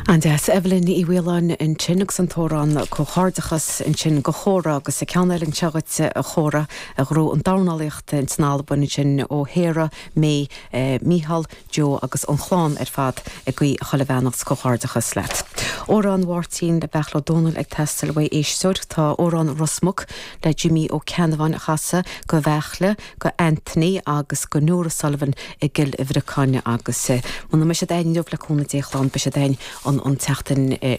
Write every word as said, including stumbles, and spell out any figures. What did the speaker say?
An-deas Evelyn Ní Mhaoláin ansin agus an t-amhrán comhghairdeachas ansin do Chóra agus a ceann eile anseo duit a Chóra a ghnóthaigh an dornálaíocht in Albain sin ó Shéara mé eh, Michal Joe agus an chlann ar fad ag guí chuile bheannacht comhghairdeachas leat. Amhrán Mháirtín le Beachla Dónal ag teastáil uaidh éisteoir tá amhrán Ros Muc le Jimmy Ó Ceannabháin a chasadh go Bheachle go Anthony agus go Nora Sullivan i gCill Bhriocáin agus eh, muna mbeidh siad againn le cúnamh Dé beidh siad againn an an tseachtain eh,